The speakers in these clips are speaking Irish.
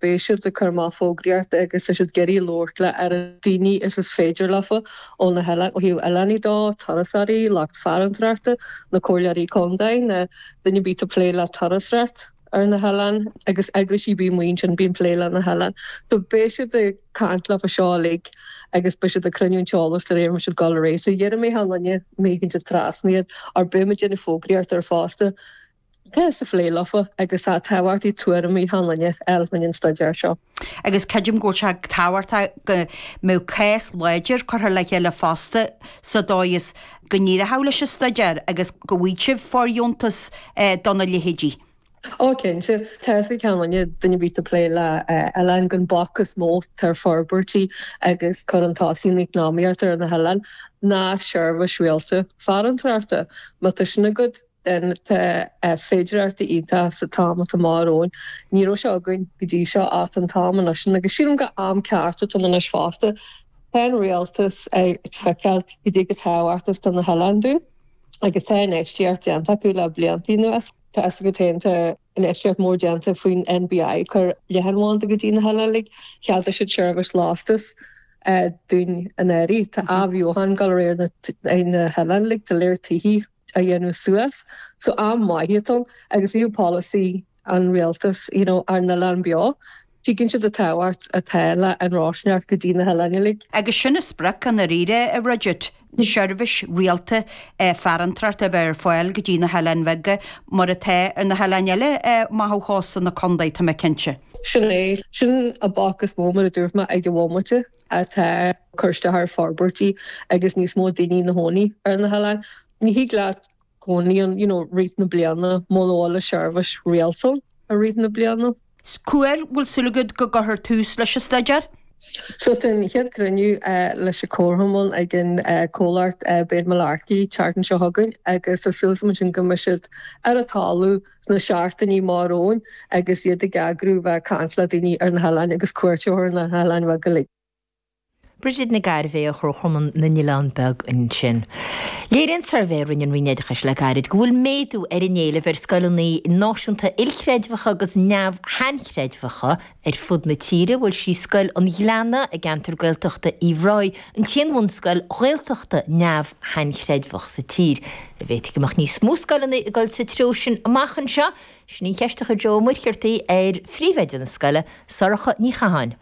beidh siad ag cur amach fógraíochta agus tá siad ag iarraidh labhairt le oiread daoine is is féidir leofa ó na hoileáin, ó thaobh oileánaigh dó, turasóirí, lucht farantóireachta, na comhairleoirí contae, na duine ar bith atá ag plé le turasóireacht ar na hoileáin agus eagraisí ar bith amuigh ansin bíonn plé le na hoileáin. So beidh siad ag caint leofa seo uilig agus beidh siad ag cruinniú an t-eolas de réir mar siad ag dul ar aghaidh. So déarfaidh mé chan duine éigin trasna iad or beidh muid ag déanamh fógraíocht air fosta. Tá sa phlé leofa agus tá tábhachtaí tuairimí chan duine eile faoin an staidéar seo. Agus creidim go bhfuil sé tábhachtach go mbeadh cás láidir curtha le chéile fosta sa dóigh is go n-éireochadh leis an staidéar agus go bhfaighidh sibh fóirdheontas dona leithéidí. Ó cinnte, tá fhios ag chan duine, duine ar bith atá ag plé le oileáin gon bac is mó atá ar forbairtí agus cur chun tosaigh na eacnamaíochta ar na hoileáin ná seirbhís rialta farantóireachta. Má tá sin agat, then tá féidearthachtaí iontach sa t-am atá amach romhainn. Ní raibh sé againn go dtí seo ach an t-am anois sin agus sílim gur am ceart atá ann anois fosta. Tá an rialtas ag feiceáil goidé chomh tábhachtach is atá na hoileáin dúinn agus tá infheistíocht déanta acu le blianta anuas. Tá fhios agat féin tá infheistíocht mór déanta faoin NBI ag cur leathanbhanda go dtí na hoileáin uilig. Cheadaigh siad seirbhís lastas dúinn anuraidh. Tá athbheochan ag dul ar aghaidh ar na hoileáin uilig, tá léir tithí a dhéanamh suas. So am maith atá ann agus ó thaobh polasaí an rialtas you know ár n-oileán beo, tuigeann siad an tábhacht atá le an rásaíocht go dtí na hoileáin uilig. Agus sin an sprioc i ndáiríre, a Bridget, seirbhís rialta farantóireachta a bheith ar fáil go dtí na hoileáin bheaga mar atá ar na hoileáin eile amach ó chósta na contae, tá mé cinnte. Sin é. Sin an bac is mó, mar a dúirt mé, ag an bhomaite. atá ag cur isteach ar forbairtí agus níos mó daoine ina chónaí ar na hoileáin. Ní thig leat cónaí ann you know rith na bliana muna bhfuil an seirbhís rialta ann i rith na bliana. Cá huair bhfuil súil agat go gcuirfear tús leis an staidéar? So tá an chéad cruinniú leis an Comharchumann ag an comhlacht Ben Mullarkey tseachtain seo chugainn agus tá súil agam ansin go mbeidh siad ar an talamh sna seachtainí amach romhainn agus iad ag eagrú bheith ag caint le daoine ar na hoileáin agus cuairt a thabhairt ar na hoileáin bheaga uilig. Bridget Nic Gairbhéith ó Chomharchumann na nOileán Beag ansin. Léiríonn suirbhé a rinne an Roinn Oideachais le gairid go bhfuil méadú ar an éileamh ar scoileanna náisiúnta ilchreidmheacha agus neamh-shainchreidmheacha ar fud na tíre. Bhuel sí Scoil an Ghleanna i gceantar Gaeltachta Uíbh Ráthaigh an t-aon bhunscoil Ghaeltachta neamh-shainchreidmheach sa tír. An bhféadfaí go mbeadh níos mó scoileanna ag dul sa treo sin amach anseo? Sin í an cheist a chuir Joe Ó Muircheartaigh ar phríomhoide na scoile, Sorcha Ní Chatháin.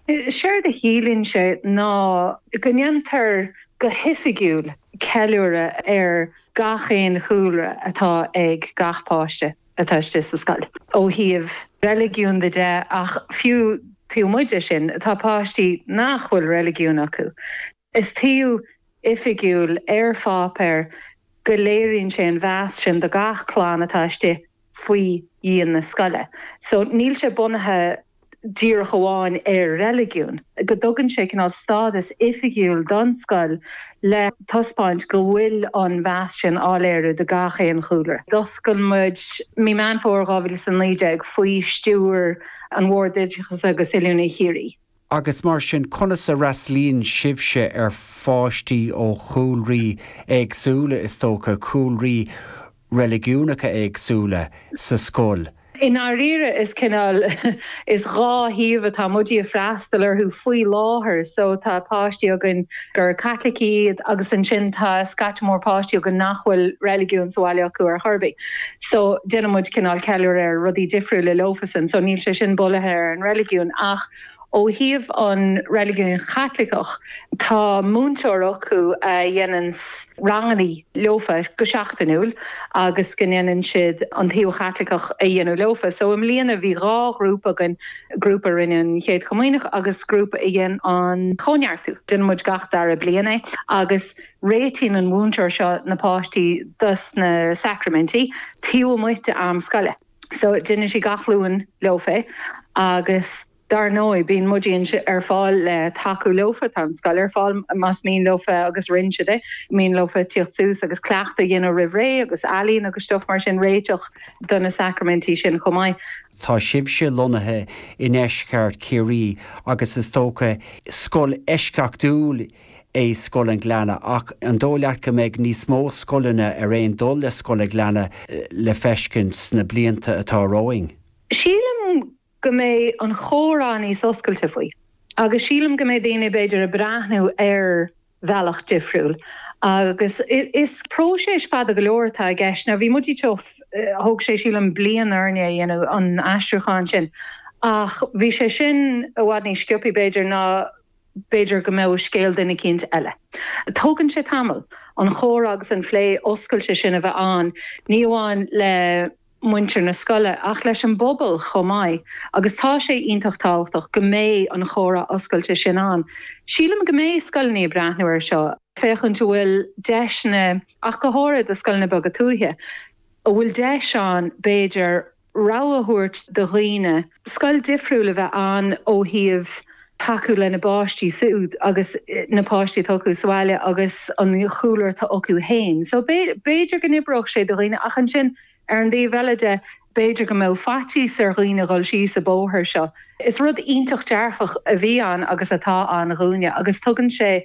Séard a chiallaíonn sé ná go ndéantar go hoifigiúil ceiliúradh ar gach aon chúlra atá ag gach páiste atá istigh sa scoil, ó thaobh reiligiún de de ach fiú taobh amuigh de sin, tá páistí nach bhfuil reiligiún acu. Is taobh oifigiúil ar pháipéar go léiríonn sé an mheas sin do gach clann atá istigh faoi dhíon na scoile. So níl sé bunaithe díreach amháin ar reiligiún, go dtugann sé cineál stádas oifigiúil don scoil le taispeáint go bhfuil an mheas sin á léiriú do gach aon chúlra. D'oscail muid mí Meán Fómhair 2019 faoi stiúir an Bhoird Oideachais agus Oiliúna Chiarraí. Agus mar sin, conas a fhreastalaíonn sibhse ar pháistí ó chúlraí éagsúla, is dócha, cúlraí reiligiúnacha éagsúla sa scoil? I ndáiríre, is cineál, is dhá thaobh atá muid ag freastal orthu faoi láthair. So tá páistí againn gur Caitlicigh iad agus ansin tá scata mór páistí againn nach bhfuil reiligiún sa bhaile acu ar chor ar bith. So déanann muid cineál ceiliúradh ar rudaí difriúla leofasan. So níl sé sin bunaithe ar an reiligiún ach Ó thaobh an reiligiúin Chaitliceach, tá múinteoir acu a dhéananns ranganna leofa go seachtainiúil agus go ndéanann siad an taobh Chaitliceach a dhéanamh leofa. So i mbliana bhí dhá ghrúpa againn, grúpa a rinne an Chéad Chomaoineach agus grúpa a dhein an Cóineartú. Déanann muid gach dara bliain é agus réitíonn an mhúinteoir seo na páistí dos na sacraimintí taobh amuigh de am scoile. So déanann sí gach Luan leofa é agus dar ndóigh bíonn muid ar fáil le tacú leofa, tá an scoil ar fáil más mian leofa agus rinne siad é, mian leofa tíocht suas agus cleachtadh a dhéanamh roimh ré agus ealaín agus stuff mar sin, réiteach do na sacraimintí sin chomh maith. Tá sibhse lonnaithe i ndeisceart Chiarraí agus is dócha scoil eisceachtúil é Scoil an Ghleanna ach an dóigh leat go mbeidh níos mó scoileanna ar aon dul le Scoil an Ghleanna le feiscint sna blianta atá romhainn? Sílim. go mbeidh an chomhrá níos oscailte faoi agus sílim go mbeidh daoine b'fhéidir ag breathnú ar bhealach difriúil agus is próiseas fada go leor atá i gceist. Now bhí muid thóg sé sílim bliain orainne a dhéanamh an aistriúchán sin ach bhí sé sin i bhfad níos sciobthaí b'fhéidir ná b'fhéidir go mbeadh scéal duine eicínt eile. Tógann sé tamall an chomhrá agus an phlé oscailte sin a bheith ann, ní amháin le muintir na scoile ach leis an bpobal chomh maith agus tá sé iontach tábhachtach go mbeidh an chomhrá oscailte sin ann. Sílim go mbeidh scoileanna ag breathnú air seo, féachaint an bhfuil deiseanna, ach go háirithe do scoileanna beaga tuaithe, an bhfuil deis ann b'fhéidir rogha a thabhairt do dhaoine scoil difriúil a bheith ann ó thaobh tacú lena bpáistí siúd agus na páistí atá acu sa bhaile agus an chúlra atá acu féin. So b'fhéidir go n-oibreodh sé do dhaoine ach ansin ar an dtaobh eile de b'fhéidir go mbeadh faitíos ar dhaoine dhul síos an bóthar seo. Is rud iontach dearfach a bhí ann agus atá ann dhúinne agus tugann sé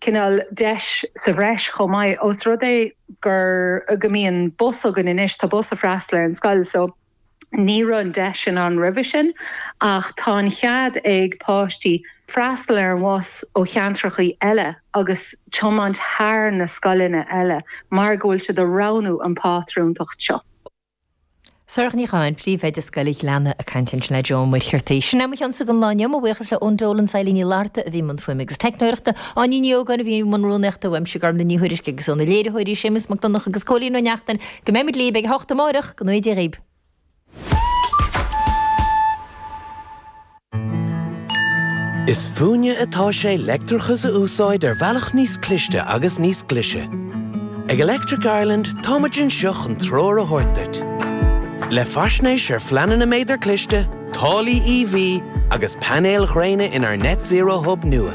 cineál deis sa bhreis chomh maith ós rud é gur go mbíonn bus againn anois, tá bus ag freastal ar an scoil so Ní raibh an deis sin ann roimhe sin ach tá an chead ag páistí freastal ar an bhus ó cheantrachaí eile agus tiomáint thar na scoileanna eile mar go bhfuil siad ag roghnú an phátrúntacht seo. Sorcha Ní Chatháin, Príomhoide Scoil an Ghleanna ag caint ansin le Joe Ó Muircheartaigh. Sin é mo chionsa don lá inniu. Mo bhuíochas le Eoin Dolan is Eileen Ní Fhlatharta a bhí i mbun fuaime agus teicneoireachta, Áine Ní Ógáin a bhí i mbun rúnaíochta, uaimse Gormlaith Ní Thuairisg agus ó na léiritheoirí Séamus Mac Donncha agus Cóilín Ó Neachtain. Go mbeidh muid libh ag a hocht amárach, go ngnóthaí Dia dhaoib. Is fúinne atá sé leictreachas a úsáid ar bhealach níos cliste agus níos glaise. Ag Electric Ireland tá muid anseo chun treoir a thabhairt duit. Le faisnéis ar phleananna méadar cliste, táillí EV agus painéil ghréine inár Net Zero Hub nua.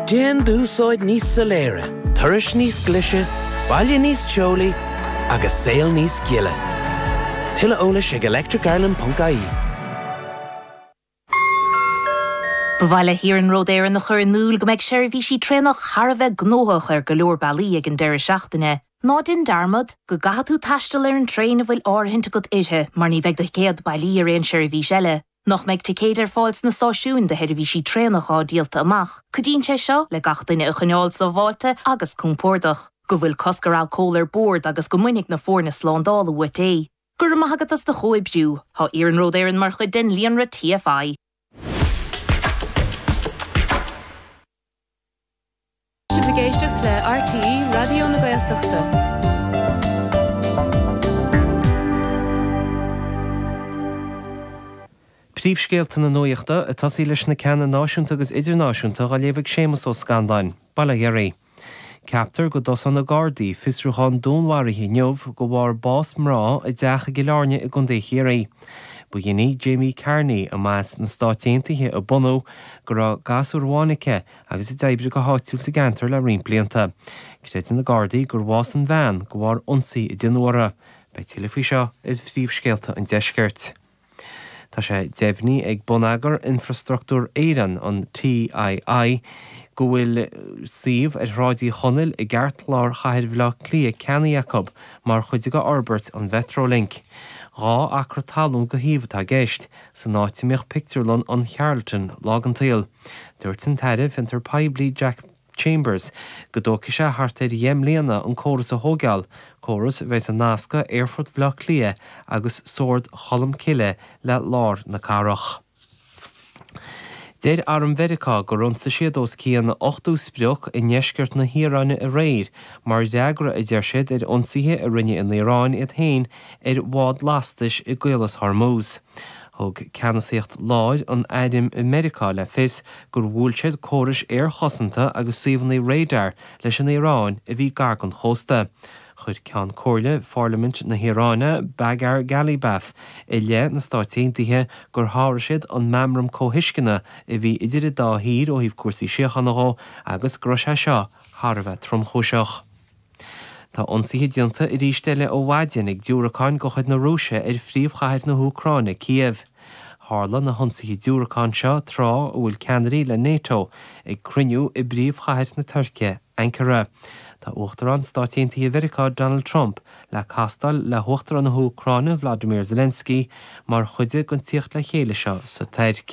Déan d'úsáid níos soiléire, turais níos glaise, baile níos teolaí agus saol níos gile. Tuilleadh eolais ag electricireland.ie. Ba mhaith le hIarnród Éireann a chur in iúl go mbeidh seirbhísí traenach thar a bheith gnóthach ar go leor bealaí ag an deireadh seachtaine. Ná déan dearmad go gcaithfidh tú taisteal ar an traein a bhfuil áirithint agat uirthi mar ní bheidh do thicéad bailí ar aon seirbhís eile. Nach mbeidh ticéid ar fáil sna stáisiúin do sheirbhísí traenach atá díolta amach. Cuidíonn sé seo le gach duine a choinneáil sábháilte agus compordach. Go bhfuil cosc ar alcól ar bord agus go mbainfidh na foirne slándála uait é. Go raibh maith agat as do chomhoibriú. Tá Iarnród Éireann mar chuid den líonra TFI. Sibh ag éisteacht le RTÉ Raidió na Gaeltachta. Príomhscéalta na nuachta, ag tosaí leis na ceanna náisiúnta agus idirnáisiúnta, á léamh ag Séamus Ó Scanláin. Bail ó Dhia oraibh. Ceaptar go dtosóidh na Gardaí fiosrúchán dúnmharaithe inniu de bharr bás mná i dteach i gCill Airne i gContae Chiarraí. Ba dhin í Jamie Carney, a mba as na Stáit Aontaithe a bunadh, go raibh gasúr amháin aici agus a d'oibrigh go háitiúil sa gceantar le roinnt blianta. Creideann na Gardaí gur bhásaigh an bhean de bharr ionsaí a déanadh uirthi. Beidh tuilleadh faoi seo ar phríomhscéalta an deiscirt. Tá sé deimhnithe ag Bonneagar Infrastruchtúr Éireann, an TII, go bhfuil suíomh ar Shráid Uí Chonaill i gceartlár chathair Bhaile Átha Cliath ceannaithe acu mar chuid de fhorbairt an Mhetrolink. 2 acra talún go shuíomh atá i gceist, san áit a mbíodh pictiúrlann an Charlton lá den tsaol. Dúirt an tAire Fiontar Poiblí Jack Chambers, go dtógfaidh sé thart ar dheich mbliana an córas a thóigeáil, córas a bheas ag nascadh Aerfort Bhaile Átha Cliath agus Sord Cholm Cille le lár na cathrach. Deir Arm Mheiriceá gur ionsaigh siad os cionn 80 sprioc i ndeisceart na hIaráine aréir mar fhreagra, a deir siad, ar ionsaithe a rinne an Iaráin iad féin ar bhád lastais i gCaolas Hormuz. Thug Ceannasaíocht Láir an Airm i Meiriceá le fios gur bhuail siad córais aerchosanta agus suíomhanna radar leis an Iaráin a bhí gar don chósta. Chuir Ceann Comhairle Pharlaimint na hIaráine, Bagher Ghalibaf, i leith na Stáit Aontaithe gur sháraigh siad an Meamram Comhthuisceana a bhí idir an dá thír ó thaobh cúrsaí síochána dhó agus go raibh sé seo thar a bheith tromchúiseach. Tá ionsaithe déanta arís eile ó mhaidin ag diúracáin de chuid na Rúise ar phríomhchathair na hÚcráine, Cíév. Tharla na hionsaithe diúracán seo tráth a bhfuil ceannairí le Nato ag cruinniú i bpríomhchathair na Tuirce, Ankara. Tá Uachtarán Stáit Aontaithe Mheiriceá Donald Trump le castáil le hUachtarán na hÚcráine Vladimir Zelensky mar chuid den tíocht le chéile seo sa Tuirc.